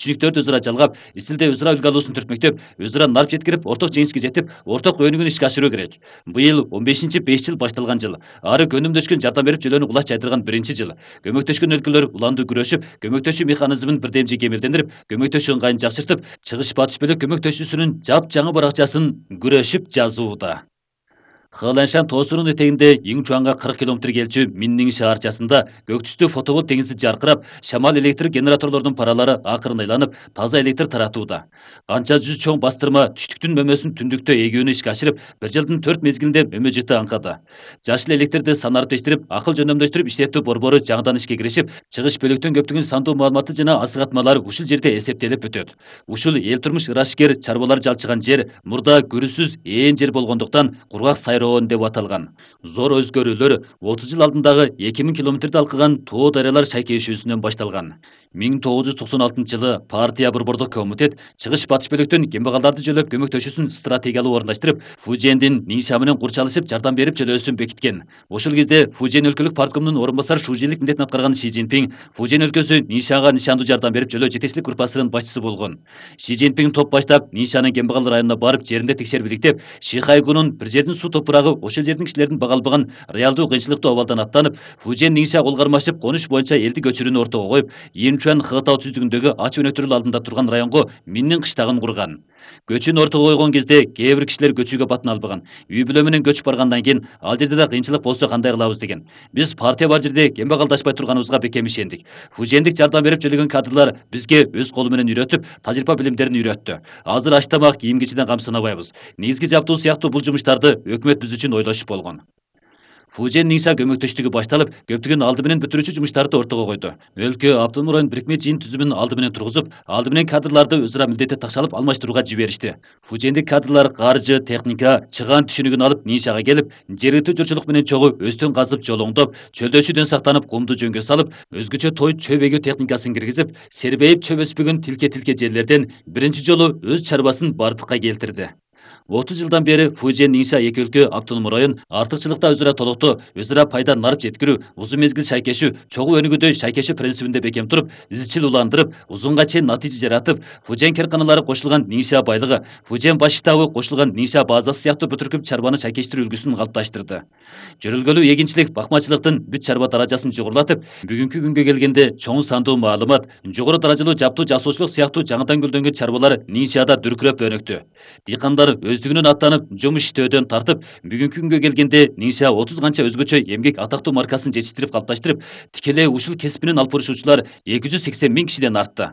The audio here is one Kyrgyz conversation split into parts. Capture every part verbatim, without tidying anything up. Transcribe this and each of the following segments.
түшүнүктөрдү өзара жалгап, исилде өзара үлгү алуусун түртмөктөп, өзара нарп жеткирип, орток жеңишке жетип, орток өнүгүүнү ишке ашыруу керек. Быйыл он бешинчи беш жыл башталган жыл. Ары көмөмдөшкөн жардам берип жөлөнү кулач жайдырган биринчи жыл. Көмөктөшкөн өлкөлөр уланды күрөшүп, көмөктөшүү механизмин бирдемжи кемелдендирип, көмөктөшүү ыңгайын жакшыртып, чыгыш батыш бөлөк көмөктөшүүсүнүн жапжаңы баракчасын күрөшүп жазууда. Хыланшан тоосунун этегинде эң чуаңга кырк километр келчү Миннин шаарчасында көк түстүү фотоволт теңизи жаркырап, шамал электр генераторлордун паралары акырын айланып, таза электр таратууда. Канча жүз чоң бастырма түштүктүн мөмөсүн түндүктө эгүүнү ишке ашырып, бир жылдын төрт мезгилинде мөмө жыты аңкады. Жашыл электрди санариптештирип, акыл жөндөмдөштүрүп иштетүү борбору жаңыдан ишке киришип, чыгыш бөлүктөн көптөгөн сандуу маалыматы жана асыгатмалар ушул жерде эсептелип өтөт. Ушул эл турмуш ырашкер чарбалар жалчыган жер мурда көрүүсүз ээн жер болгондуктан кургак сайроон деп аталган. Зор өзгөрүүлөр отуз жыл алдындагы эки миң километрди алкыган тоо дарыялар шайкешүүсүнөн башталган. миң тогуз жүз токсон алтынчы жылы партия борбордук комитет чыгыш батыш бөлүктөн кембагалдарды жөлөп көмөктөшүүсүн стратегиялуу орундаштырып, Фужендин Нинша менен курчалышып жардам берип жөлөөсүн бекиткен. Ошол кезде Фужен өлкөлүк парткомунун орун басары шужийлик милдетин аткарган Ши Цзиньпин Фужен өлкөсү Ниншага нишандуу жардам берип жөлөө жетекчилик группасынын башчысы болгон. Ши Цзиньпин топ баштап Ниншанын кембагал районуна барып жеринде текшерип иликтеп, Шихайгунун бир жердин суу топурагы ошол жердин кишилердин бага албаган реалдуу кыйынчылыктуу абалдан аттанып, Фужен Нинша кол кармашып конуш боюнча элди көчүрүүнү ортого коюп, Инчуан Хытау түздүгүндөгү ач өнөктөрү алдында турган районго Миннин кыштагын курган. Көчүүнү ортого койгон кезде кээ бир кишилер көчүүгө батына албаган. Үй бүлө менен көчүп баргандан кийин ал жерде да кыйынчылык болсо кандай кылабыз деген. Биз партия бар жерде кембагалдашпай турганыбызга бекем ишендик. Фужендик жардам берип жөлөгөн кадрлар бизге өз колу менен үйрөтүп, тажрыйба билимдерин үйрөттү. Азыр аш тамак, кийим кечиден кам санабайбыз. Негизги жаптуу сыяктуу бул жумуштарды өкмөт биз үчүн ойлошуп болгон. Фужен Нинша көмөктөштүгү башталып, көптөгөн алды менен бүтүрүүчү жумуштарды ортого койду. Өлкө автономдук район бирикме жыйын түзүмүн алды менен тургузуп, алды менен кадрларды өзара милдетти такшалып алмаштырууга жиберишти. Фужендик кадрлар каржы, техника, чыгаан түшүнүгүн алып Ниншага келип, жергиликтүү журчулук менен чогуу өстөн казып, жолоңдоп, чөлдөшүүдөн сактанып, кумду жөнгө салып, өзгөчө той чөп эгүү техникасын киргизип, сербейип чөп өспөгөн тилке-тилке жерлерден биринчи жолу өз чарбасын бардыкка келтирди. отуз жылдан бери Фужен Нинша эки өлкө автономдук район артыкчылыкта өзара толоктоо, өзара пайда нарып жеткирүү, узун мезгил шайкешүү, чогуу өнүгүүдө шайкешүү принцибинде бекем туруп, изчил уландырып, узунга чейин натыйжа жаратып, Фужен керканалары кошулган Нинша байлыгы, Фужен баш штабы кошулган Нинша базасы сыяктуу бүтүркүп чарбаны шайкештирүү үлгүсүн калыпташтырды. Жөрөлгөлүү эгинчилик, бакмачылыктын бүт чарба даражасын жогорулатып, бүгүнкү күнгө келгенде чоң сандуу маалымат, жогору даражалуу жаптуу жасоочулук сыяктуу жаңыдан гүлдөнгөн чарбалар Ниншада дүркүрөп өнүктү. Дыйкандар өздүгүнөн аттанып, жумуш иштөөдөн тартып, бүгүнкү күнгө келгенде Нинша отуз канча өзгөчө эмгек атактуу маркасын жетиштирип калыпташтырып, тикелей ушул кесип менен алып барышуучулар эки жүз сексен миң кишиден артты.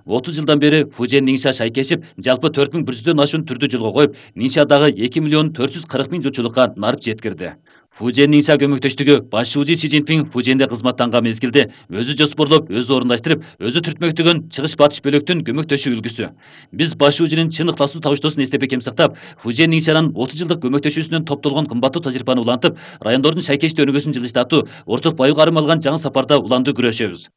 отуз жылдан бери Фужен Нинша шайкешип, жалпы төрт миң бир жүздөн ашуун түрдү жолго коюп, Ниншадагы эки миллион төрт жүз кырк миң журтчулукка нарып жеткирди. Фужен Нинша көмөктөштүгү баш шужи Ши Цзиньпин Фуженде кызматтанган мезгилде өзү жоспорлоп, өзү орундаштырып, өзү түртмөктөгөн чыгыш батыш бөлөктүн көмөктөшүү үлгүсү. Биз баш шужинин чын ыктасуу табыштоосун эстеп бекем сактап, Фужен Ниншанын отуз жылдык көмөктөшүүсүнөн топтолгон кымбаттуу тажрыйбаны улантып, райондордун шайкештүү өнүгүүсүн жылыштатуу, орток баю карым алган жаңы сапарда уланды күрөшөбүз.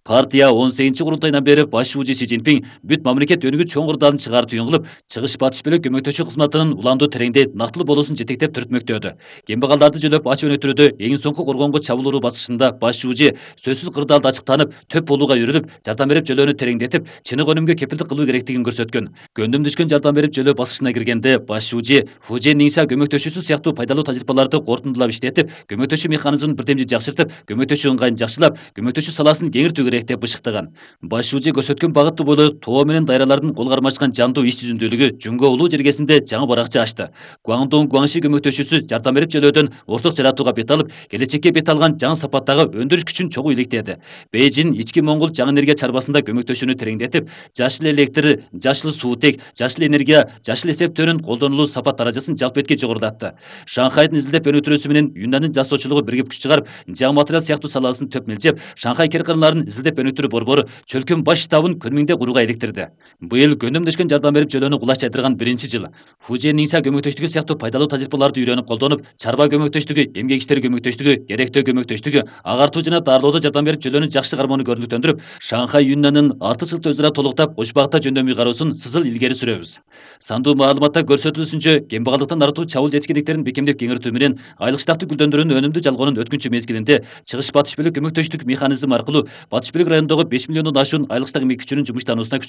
Партия он сегизинчи курултайынан бери баш шужи Ши Цзиньпин бүт мамлекет өнүгүү чоң курдалын чыгарды түйүн кылып, чыгыш батыш бөлөк көмөктөшүү кызматынын уландуу тереңдей нактылуу болуусун жетектеп түртмөктөдү. Кембагалдарды жөлөп ач өнөктүрүүдө эң соңку коргоонго чабуул уруу басышында баш шужи сөзсүз кырдаалда ачыктанып, төп болууга үйрөнүп, жардам берип жөлөөнү тереңдетип, чыныгы өнүмгө кепилдик кылуу керектигин көрсөткөн. Көндүм түшкөн жардам берип жөлөө баскычына киргенде баш шужи Фужен Нинша көмөктөшүүсү сыяктуу пайдалуу тажрыйбаларды кортундулап иштетип, көмөктөшүү механизмин бирдемжи жакшыртып, көмөктөшүү ыңгайын жакшылап, көмөктөшүү саласын кеңиртүү керек деп бышыктаган. Баш шужи көрсөткөн багыттуу бойлуу тоо менен дайралардын кол кармашкан жандуу иш жүзүндүүлүгү Жүнгө улуу жергесинде жаңы баракча ачты. Гуандун Гуанши көмөктөшүүсү жардам берип жөлөөдөн орток жаратууга бет алып, келечекке бет алган жаңы сапаттагы өндүрүш күчүн чогуу иликтеди. Бейжин ички Моңгол жаңы энергия чарбасында көмөктөшүүнү тереңдетип, жашыл электр, жашыл суутек, жашыл энергия, жашыл эсептөөнүн колдонулуу сапат даражасын жалпы этке жогорулатты. Шанхайдын изилдеп өнүктүрүүсү менен Юннандын жасоочулугу биригип күч чыгарып, жаңы материал сыяктуу саласын төп милжеп, Шанхай керканаларын изилдеп өнүктүрүү борбору чөлкөн баш штабын Көнмиңде курууга иликтирди. Быйыл көндөмдөшкөн жардам берип жөлөөнү кулач жайдырган биринчи жыл. Фужен Нинша көмөктөштүгү сыяктуу пайдалуу тажрыйбаларды үйрөнүп колдонуп, чарба көмөктөштүгү, эмгек иштери көмөктөштүгү, керектөө көмөктөштүгү, агартуу жана дарылоодо жардам берип жөлөөнү жакшы кармоону көрүнүктөндүрүп, Шанхай Юннанын артыкчылыкты өзара толуктап, кош багытта жөндөмүй кароосун сызыл илгери сүрөбүз. Сандуу маалыматта көрсөтүлүшүнчө, кембагалдыктан арылтуу чабуул жетишкендиктерин бекемдеп кеңиртүү менен айлык штатты гүлдөндүрүүнүн өнүмдүү жалгоонун өткүнчү мезгилинде чыгыш батыш бөлөк көмөктөштүк механизм аркылуу батыш Иш Бийлик районундагы беш миллиондон ашуун айлык стаг эмгек күчүнүн жумуштануусуна күч